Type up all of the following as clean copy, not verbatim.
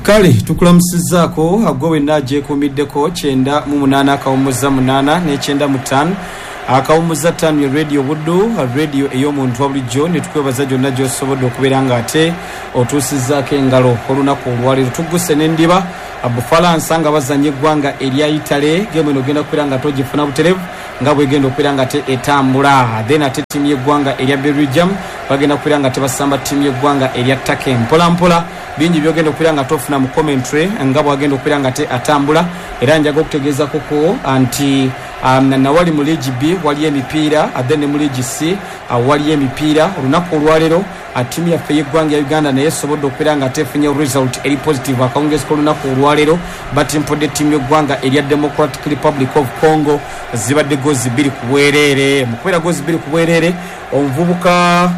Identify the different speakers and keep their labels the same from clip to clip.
Speaker 1: Kale tukulamusizaako gwe wenna agyekuumiddeko 98 akawummuza 8 ne 95 akawummuza 5 ye Radio Buddu, radio ey'omuntu wa bulijjo, ne tukwebaza gyonna gy'osobodde okubeera ng'ate otuusizzaako engalo olunaku olwaleero. Tugguse n'endiba Bufalansa nga bazannya eggwanga erya Italy. Geemu eno ogenda kubeera nga togifuna buterevu nga bwegenda okubeera nga te etambula. Then ate ttiimu y'eggwanga erya Belgium bagenda kubeera nga tebasamba ttiimu y'eggwanga erya Turkey. Mpola mpola bingi byogenda okubeera nga tofuna mu commentary nga bwagenda okubeera nga te atambula. Era njaga okutegeezako ko nti nawali mu liigi B waliyo emipiira, then ne mu liigi C waliyo emipiira. Olunaku olwaleero ttiimu yaffe ey'eggwanga ya Uganda naye esobodde okubeera nga tefunye result eri positive. Akawungeezi k'olunaku olwaleero batimpudde ttiimu y'eggwanga erya Democratic Republic of Congo, zibadde gozi 2 ku bwereere. Mu kubeera gozi 2 ku bwereere, omuvubuka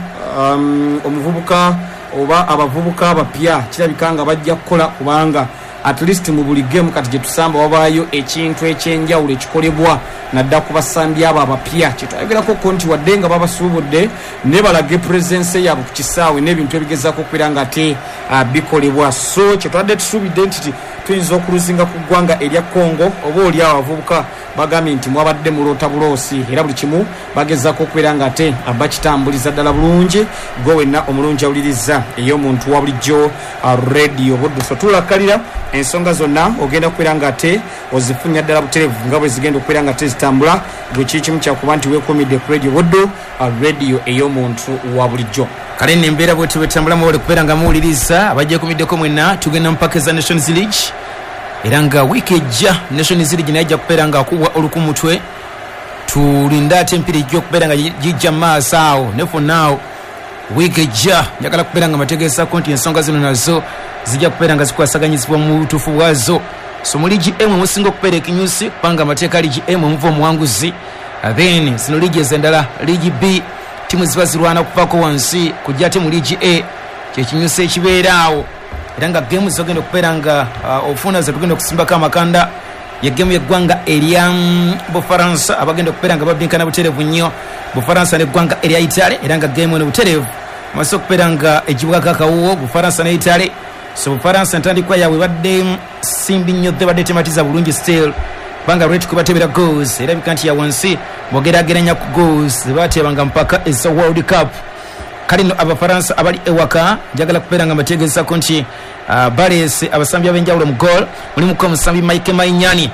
Speaker 1: omuvubuka oba abavubuka abapya kirabika nga bajja kukola, kubanga at least mu buli game kati gye tusamba wabaayo ekintu ekyenjawulo ekikolebwa nadda ku basambi abo abapya. Kyetwayogerako ko nti wadde nga babasuubudde ne balage presence yaabwe ku kisaawe n'ebintu ebigezaako okubeera nga ate bikolebwa. So kyetwadde tusuubidde nti tuyinza okuluzinga ku ggwanga erya Congo, oba oli awo abavubuka bagambye nti mwabadde muloota buloosi, era buli kimu bagezaako okubeera nga ate bakitambuliza ddala bulungi. Gwe wenna omulungi awuliriza ey'omuntu wa bulijjo Radio Buddu, so tulakalira ensonga zonna ogenda kubeera nga ate ozifunya ddala buterevu nga bwe zigenda okubeera nga tezitambula. Gwe kiri kimu kyakuba nti weekuumidde ku Radio Buddu, radio ey'omuntu wa bulijjo.
Speaker 2: Kale nno embeera bwetyo bwetambula, mwebale kubeera nga muwuliriza. Abagyekumiddeko mwenna, tugenda mu paka eza Nations League, era nga wiiki ejja Nations League naye ajja kubeera nga akubwa olukumutwe. Tulinde ate empiira ejja okubeera nga gijja mu maaso awo, ne for now wiiki ejja njagala kubeera nga mbategeezako nti ensonga zino nazo zijja kubeera nga zikwasaganyizibwa mu butuufu bwazo. So mu liigi emu emusinga okubeera ekinyusi, kubanga amateeka liigi emu emuva omuwanguzi, then zino liigi ez'endala, liigi B, tiimu ziba zirwana kuvaako wansi kujja ate mu liigi A kyekinyusi ekibeera awo. Era nga geemu zogenda okubeera nga ofuna zetugenda okusimbako amakanda ye geemu y'eggwanga erya Bufaransa abagenda okubeera nga babinkana butereevu nnyo, Bufaransa n'eggwanga erya Italy. Era nga geemu eno butereevu amaze okubeera nga egibwako akawuwo Bufaransa ne Italy. So Bufaransa entandikwa yaabwe ebadde simbi nnyo, ebadde tematiza bulungi still, kubanga rate kwebatebera goals erabika nti ya wansi bwogerageranya ku goals zebatebanga mpaka eza World Cup. Kale nno Abafaransa abali ewaka njagala kubeera nga mbategeezako nti baleese abasambi ab'enjawulo mu goal. Mulimuku omusambi Mike Mainyani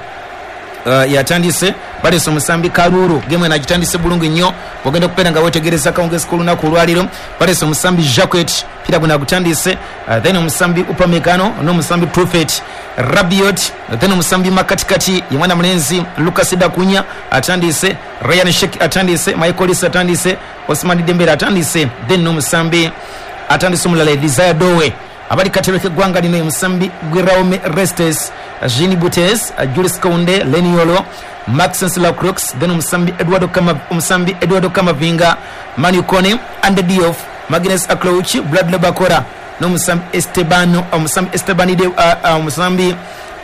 Speaker 2: yatandise, baleese omusambi Kalulu, gemu eno agitandise bulungi nnyo bwogenda okubeera nga wetegereza akawungeezi k'olunaku olwaleero. Baleese omusambi Jacquet, pira guno agutandise, then omusambi Upamecano n'omusambi Truffet Rabiot, then omusambi makatikati ye mwana mulenzi Lucas Dakunya atandise, Ryan Sheik atandise, Michael Olise atandise, Osman Dembele atandise, then n'omusambi atandise omulala Desire Dowe. Abali katebe k'eggwanga lino ye musambi Guillaume Restes, Jean Butes, Jules Kounde, Leny Yoro, Maxence Lacroix, then omusambi Eduardo Kama, omusambi Eduardo Camavinga, Manu Kone, Ande Diouf, Magnus Aklouch, Bradley Bakora n'omusambi Esteban, omusambi Esteban de, omusambi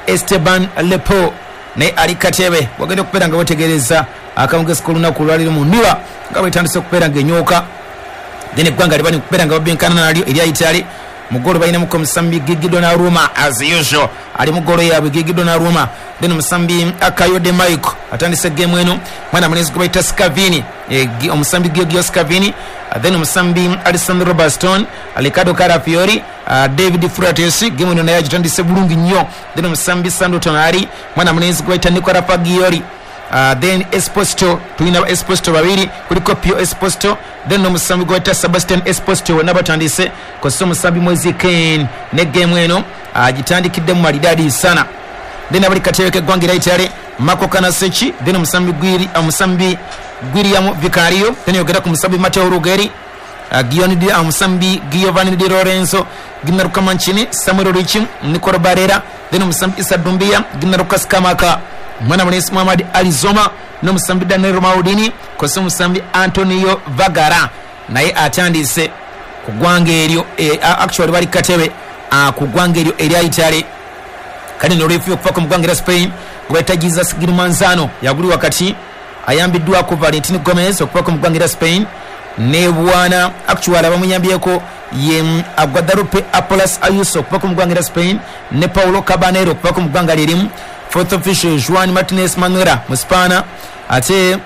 Speaker 2: Esteban Lepo naye ali katebe. Wagenda okubeera nga wetegereza akawungezi k'olunaku olwaleero mu ndiba nga bwetandise okubeera nga enyooka. Then eggwanga libali okubeera nga babinkana nalyo erya Italy. Mu goolo balinamuku omusambi Gigi Donnarumma, as usual ali mu goolo yaabwe Gigi Donnarumma. Then omusambi Kayode Michael atandise geemu eno, mwana mulenzi gwe bayita Scavini, omusambi Giorgio Scavini, then omusambi Alessandro Bastoni, Riccardo Calafiori, David Frattesi, geemu eno naye agitandise bulungi nnyo. Then omusambi Sandro Tonali, mwana mulenzi gwe bayita Nicola Fagioli, then Esposito, tulina ba Esposito babiri, kuliko Pio Esposito then n'omusambi gwe bayita Sebastian Esposito, bonna batandise kozesa omusambi Moise Kean ne geemu eno agitandikiddemu maridadi sana. Then abali katebe k'eggwanga erya Italy Marco Carnesecchi, then omusambi Gwiri, omusambi Guillermo Vicario, then yogera ku musambi Matteo Ruggeri, omusambi Giovanni Di Lorenzo, Gianluca Mancini, Samuel Ricci, Nicolo Barella, then omusambi Issa Doumbia, Gianluca Scamacca, mwana mulenzi Muhammad Ali Zoma n'omusambi Daniel Maldini, kozesa omusambi Antonio Vagara naye atandise ku ggwanga eryo, actually bali katebe ku ggwanga eryo erya Italy. Kale nolwefuye okuva mu ggwanga erya Spain gwe bayita Jesus Gil Manzano yaguli wakati, ayambiddwako Valentino Gomez okuva mu ggwanga erya Spain. Ne bwana actual abamuyambyeko ye Guadalupe Apolas Ayuso okuva mu ggwanga lya Spain ne Paulo Cabanero okuva mu ggwanga lyerimu. Fourth official Juan Martinez Manuela Muspana. Ate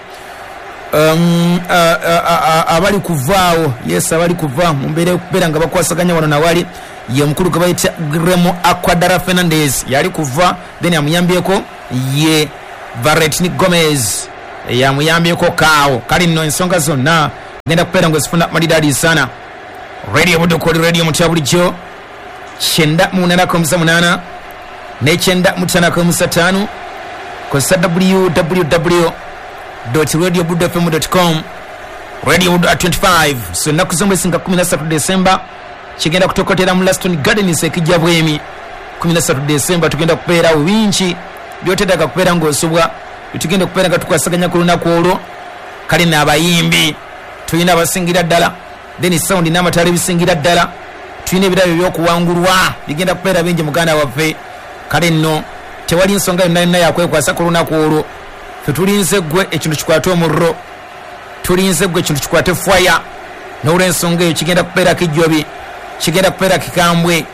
Speaker 2: abali kuvaawo, yes, abali kuva mu mbeera okubeera nga bakwasaganya wano nawali ye mukulu gwe bayita Gremo Aquadara Fernandez yali kuva, then amuyambyeko ye Varetni Gomez yamuyambyeko kaawo. Kale nno ensonga zonna genda kubeera nga ozifuna malidadi sana. Radio Buddu koli radio mutya bulijjo 98.8 ne 95.5 kozesa www.radiobuddufm.com. Radio Buddu at 25. So ennaku z'omwezi nga 13 Desemba kigenda kutokotera mu Laston Gardens ekijja bwemi. 13 Desemba tugenda kubeerawo bingi byoteetaaga kubeera ng'osobwa, tugenda okubeera nga tukwasaganya ku lunaku olwo. Kale n'abayimbi tulina abasingira ddala, then sound n'amataala ebisingira ddala, tulina ebirabo ebyokuwangulwa bigenda kubeera bingi muganda waffe. Kale nno tewali nsonga yonna yonna yakwekwasa ku lunaku olwo. Ffe tulinze ggwe ekintu kikwate omuliro, tulinze ggwe ekintu kikwate fwaya. N'olwensonga eyo kigenda kubeera kijjobi, kigenda kubeera kikambwe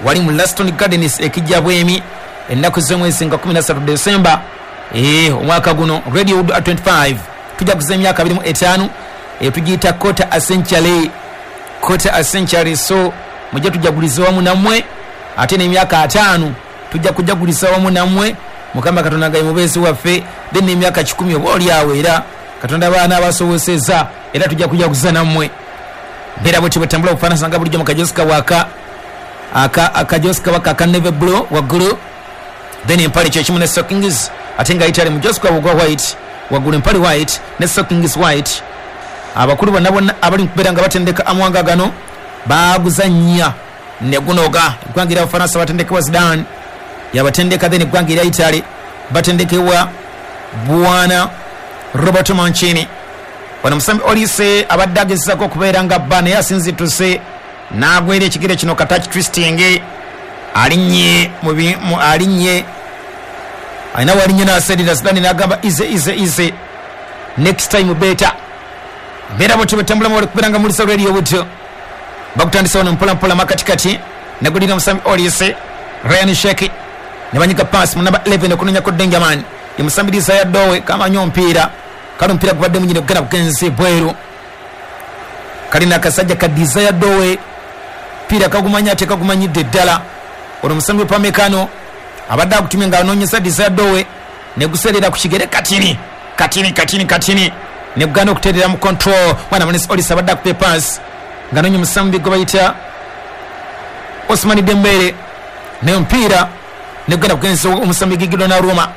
Speaker 2: wali mu Laston Gardens ekijja bwemi ennaku z'omwezi nga 13 Desemba omwaka guno. Radio Buddu at 25 tujaguza emyaka 25, tugiyita quarter a century, quarter a century. So mujje tujaguliza wamu nammwe, ate n'emyaka 5 tujja kujaguliza wamu nammwe. Mukama Katonda nga ye mubeezi waffe, then n'emyaka 100 oba oli awo era Katonda baana abasobosezza era tujja kujaguza nammwe. Mbeera bwetyo bwetambula obufaanana nga bulijjo mu kajosika waka akajosika waka aka navy blue waggulu, then empale kyekimu ne stockings, ate nga Italy mu josika ogwa white waggulu, empale white ne stockings white. Abakulu bonna bonna abali mu kubeera nga batendeka amawanga gano baaguza nnya ne gunoga. Eggwanga erya Bufaransa batendekebwa Zidane yabatendeka, then eggwanga erya Italy batendekebwa bwana Roberto Mancini. Wano musambi Olise abadde agezaako okubeera nga bba naye asinzituse n'agwera ekigere kino katach twisting, alinnye alinnye alina walinye n'asedira Zidane n'agamba ize ize ize next time better. Mbeera bwetyo bwetambula mwali kubeera nga mulisa radio butyo. Bakutandisa wano mpola mpola makatikati nagulira musambi Olise Ryan Sheki ne banyiga pass mu namba 11 okunonyako Dangerman ye musambi Desire Dowe kamanyi omupiira. Kale omupiira gubadde munyine kugenda kugenzi bweru. Kalina akasajja ka Desire Dowe piira kagumanya ate kagumanyidde ddala. Ono musambi Upamecano abadde akutumye nga anoonyesa Desire Dowe neguseerera ku kigere katini katini katini katini neguganda okuteerera mu control. Mwana Manes Olise abadde akupa pass nga anoonya omusambi gwe bayita Osman Dembele naye omupiira negugenda kugenza omusambi Gigi Donnarumma.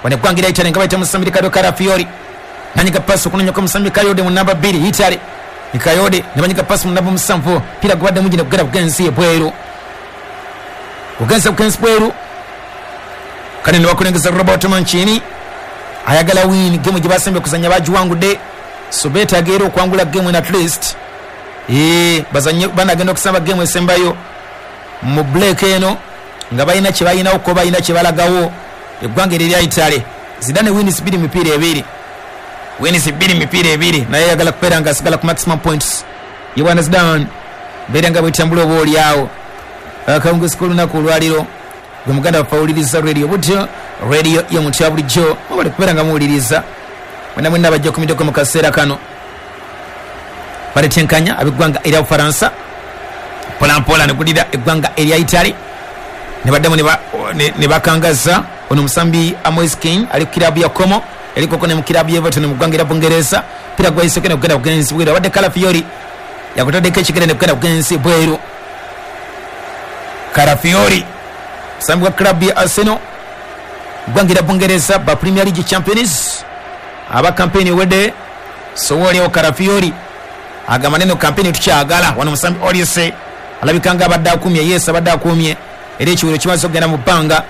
Speaker 2: Wano eggwanga erya Italy nga bayita musambi Riccardo Calafiori nanyiga pass okunonyako omusambi Kayode mu namba 2 Italy Kayode ne banyiga pass mu namba 7 pira gubadde mungi negugenda kugenza ebweru, kugenza kugenza bweru. Kale ne bakulengeza Roberto Mancini ayagala win gemu gye basembye okuzannya bagiwangudde, so beetaaga era okuwangula gemu at least bazanye banagenda okusamba gemu esembayo mu break eno nga balina kye balinawo ko balina kye balagawo eggwanga erya Italy. Zidane wins 2 mipiira ebiri, wins 2 mipiira ebiri, naye ayagala kubeera nga asigala ku maximum points. Ye bwana Zidane mbeera nga bwetambula oba oli awo. Akawungeezi k'olunaku olwaliro gwe muganda waffe awuliriza radio butyo, radio y'omuntu bulijjo mwebale kubeera nga muwuliriza mwena mwenna abajja okumiddeko mu kaseera kano. Baletenkanya ab'eggwanga erya Bufaransa mpola mpola ne gulira eggwanga erya Italy ne baddamu ne bakangaza ono musambi Moise Kean ali ku kiraabu ya Como yalikoko ne mu kiraabu ya Everton mu ggwanga erya Bungereza. Pira gwayiseko ne kugenda kugenzi bweru, abadde Calafiori yakutaddeko ekigere ne kugenda kugenzi bweru. Calafiori musambi wa club ya Arsenal ggwanga erya Bungereza ba Premier League champions aba kampeni ewedde. So waliwo Calafiori agamba neno kampeni tukyagala. Wano musambi Olise alabika nga abadde akumye, yes abadde akumye era ekiwero kimaze okugenda mu bbanga.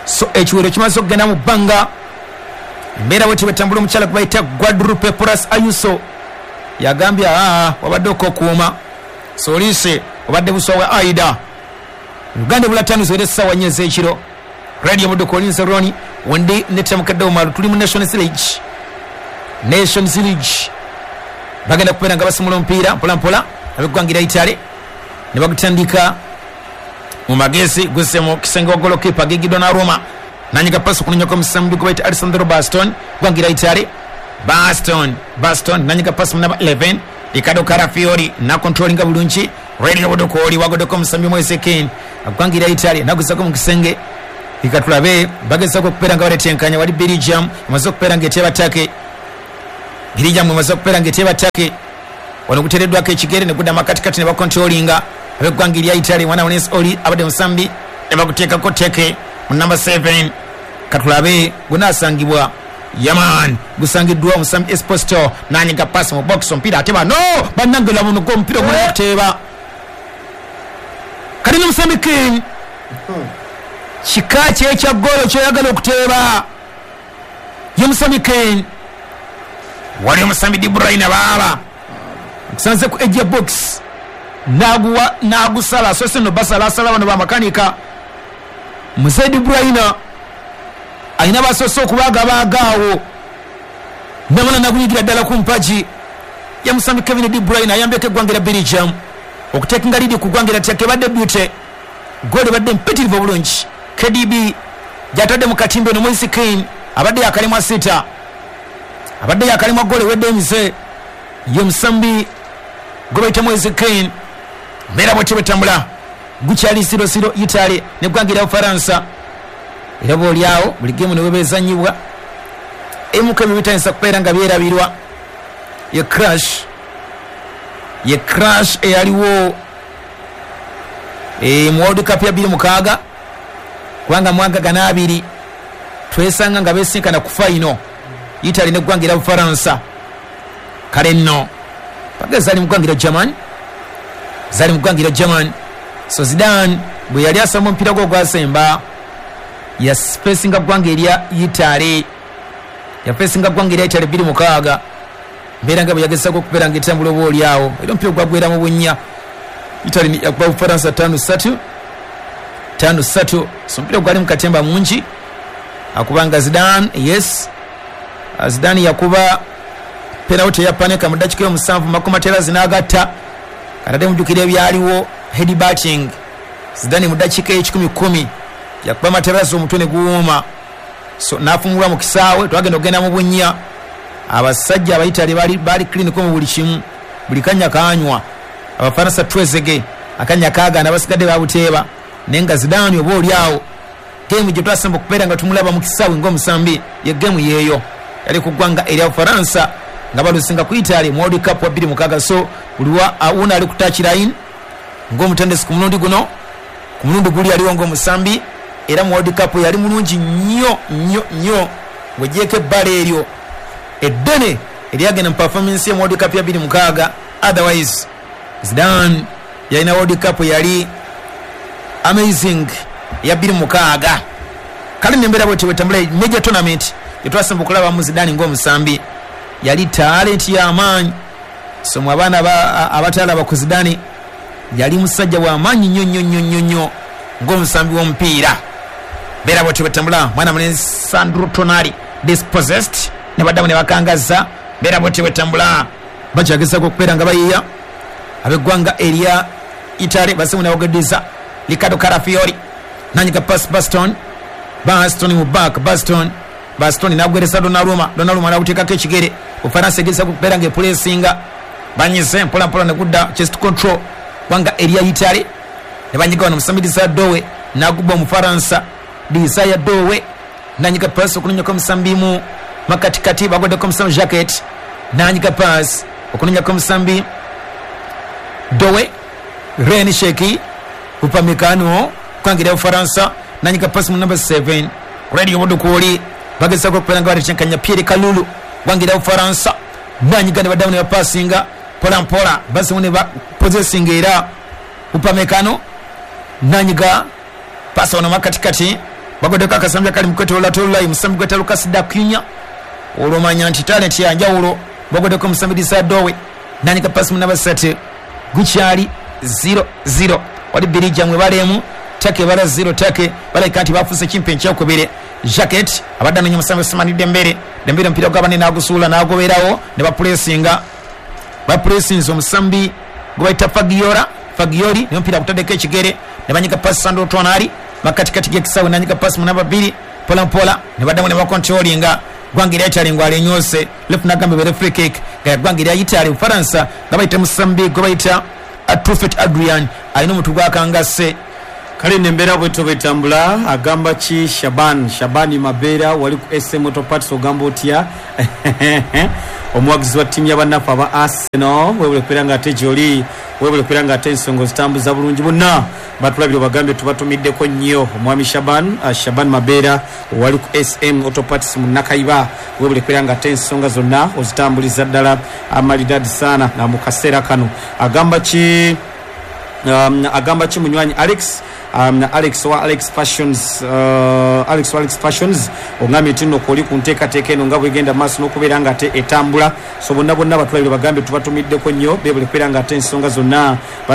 Speaker 2: So ekiwero kimaze okugenda mu bbanga. Embeera bwetyo bwetambula omukyala gwe bayita Guadalupe Porras Ayuso yagambye wabadde okokuuma. So Olise obadde buswa bwa Aida. Uganda ebula 5 ziwere essaawa 4 ez'ekiro. Radio Buddu Collins Roni wendi ne Tamukadde Omaru tuli mu Nations League. Nations League Bagenda kubeera nga basimula omupiira mpolampola ab'eggwanga lya Italy ne bagutandika mu magezi guzze mu kisenge wa golokipa Gigi Donnarumma nanyiga pasi okunoonyako omusambi gwe bayita Alessandro Baston ggwanga lya Italy. Baston nanyiga pasi mu namba 11 Riccardo Calafiori nakontrolinga bulungi Radio Budukooli wagoddeko omusambi Moise Kean ggwanga lya Italy naguzako mu kisenge. Ikatulabe bagezako okubeera nga baletenkanya. Wali Belgium emaze okubeera nga eteeba Turkey. Belgium emaze okubeera nga eteeba Turkey. Wano guteereddwako ekigere ne gudda makatikati ne bakontrolinga ab'eggwanga erya Italy. Mwana Ones Oli abadde musambi ne baguteekako Turkey mu namba 7. Katulabe gunaasangibwa Yaman gusangiddwa omusambi Esposito nanyiga pasi mu box omupiira ate bano bannange laba ono omupiira ogulina okuteeba kali n'omusambi Kean. Kika ki ekya ggoolo ky'oyagala okuteeba? Ye musambi Kane. Wali omusambi De Bruyne baaba nkusanze ku edge ya box n'aguwa n'agusala asoose nno basalasala bano bamakanika. Mzee De Bruyne alina basoose okubaagabaaga awo namala nagunyigira ddala ku mpagi. Ye musambi Kevin De Bruyne ayambyeko eggwanga erya Belgium okutekinga liidi ku ggwanga erya Turkey. Ebadde beauty goolo ebadde mpitirivu obulungi KDB gyatadde mu katimba eno. Moise Kean abadde yakalemwa sita, abadde yakalemwa goolo ewedde emize. Ye musambi gwe bayita Moise Kean. Mbeera bwetyo bwetambula gukyali 0-0 Italy neggwanga erya Bufaransa. Era boolyawo buli geemu ne weba ezannyibwa ebimu ku ebyo bitandisa kubeera nga byerabirwa. Ye crash, ye crash eyaliwo mu World Cup ya 2006 kubanga mwaka gana abiri twesanga nga besinkana ku final Italy neggwanga erya Bufaransa. Kale nno paka zaali mu ggwanga erya German, zaali mu ggwanga erya German. So Zidane bwe yali asamba omupiira gwe ogwasemba yafesinga ggwanga erya Italy, yafesinga ggwanga erya Italy 2006. Mbeera nga bwe yagezaako okubeera nga etambula oba oli awo era omupiira gwagwera mu bunnya. Italy yakuba Bufaransa 5-3, 5-3. So omupiira gwali mu katemba mungi akubanga Zidane, yes Zidane yakuba penalty ya Panenka mu ddakiika ey'omusanvu Marco Materazzi n'agatta. Katadde mujjukira ebyaliwo head batting. Zidane mu ddakiika ey'ekikumi kkumi yakuba Materazzi omutwe ne guwuuma, so n'afumulwa mu kisaawe. Twagenda okugenda mu bunnya abasajja Abaitali bali clinical mu buli kimu, buli kanya kanywa. Abafaransa Trezeguet akanya kaagaana, abasigadde babuteeba. Naye nga Zidane oba oli awo geemu gye twasemba okubeera nga tumulaba mu kisaawe ng'omusambi ye geemu yeeyo yali ku ggwanga erya Bufaransa nga balusinga ku Italy mu World Cup wa 2006. So buli wuno ali ku touch line ng'omutendesi ku mulundi guno, ku mulundi guli aliwo ng'omusambi. Era mu World Cup yali mulungi nnyo nnyo nnyo ng'ogyeko ebbala eryo eddene eryagenda mu performance ye mu World Cup ya 2006. Otherwise Zidane yalina World Cup yali amazing ya 2006. Kale nembeera bwetyo bwetambula major tournament gyetwasemba okulabamu Zidane ng'omusambi yali talent y'amaanyi. So mu abaana abatalaba ku Zidane yali musajja w'amaanyi nnyo nnyo nnyo nnyo nnyo ng'omusambi w'omupiira. Mbeera bwetyo bwetambula mwana mulenzi Sandro Tonali dispossessed ne baddamu ne bakangaza. Mbeera bwetyo bwetambula bakyagezaako okubeera nga bayiiya ab'eggwanga erya Italy basimu nabageddiza Riccardo Calafiori nanyiga pass Baston, Baston mu back, Baston n'agweresa Donnarumma, Donnarumma n'aguteekako ekigere. Bufaransa egezaako okubeera nga epulesinga banyize mpola mpola ne gudda chest control ggwanga erya Italy ne banyiga wano omusambi Dowe n'aguba Omufaransa Desire Dowe nanyiga pass okunonyako omusambi mu makatikati bagoddeko omusambi Jacket nanyiga pass okunonyako omusambi Dowe Ren Sheki Upamecano ggwanga erya Bufaransa nanyiga pass mu number 7 Radio Budukooli bagezaako okubeera nga baletenkanya Pierre Kalulu ggwanga erya Bufaransa nanyiga ne baddamu ne bapasinga mpola mpola basimu ne bapossessinga era Upamecano nanyiga pasi wano makatikati bagoddeko akasambi akali mu kwetoololatoolola omusambi gweta Lucas Dacunya olwomanya nti talent yanjawulo. Bagoddeko omusambi Desire Dowe nanyiga pasi mu namba 3 gukyali 0-0. Wali Belgium ebala Turkey ebala 0. Turkey balabika nti bafuuse kimpe enkyokubiri. Jacket abadde anoonya omusambi Ousmane Dembele, Dembele omupiira gwabane n'agusuula n'agoberawo ne bapulesinga. Bapuresinze omusambi gwe bayita Fagiora Fagioli, naye omupiira gutaddeko ekigere ne banyiga pasi Sandro Tonali makatikati g'ekisaawe, nanyiga pasi mu namba 2 mpola mpola ne baddamu ne bakontrolinga. Ggwanga erya Italy ng'alinyoose left, nagamba ebeere free kick nga ggwanga erya Italy Bufaransa nga bayita musambi gwe bayita Truffet Adrian alina omutwe gwakangase.
Speaker 1: Kale nembeera bwetyo bwetambula. Agamba ki Shaban? Shabani Mabeera wali ku SM Auto Parts, ogamba otya omuwagizi wa ttiimu y'abannaffe aba Arsenal? Webule kubeera nga ate gyoli, webule kubeera nga ate ensonga ozitambuza bulungi. Bonna batulabire obagambye tubatumiddeko nnyo. Omwami Shaban, Shaban Mabeera wali ku SM Auto Parts mu Nakaiba, webule kubeera nga ate ensonga zonna ozitambuliza ddala amalidadi sana. Na mu kaseera kano agamba ki? Agamba ki munywanyi Alex? Alex wa Alex Fashions, Alex wa Alex Fashions, ogambye nti nno kwoli ku nteekateeka eno nga bwegenda maaso n'okubeera nga ate etambula. So bonna bonna batulabire bagambe tubatumiddeko nnyo, bebule kubeera nga ate ensonga zonna.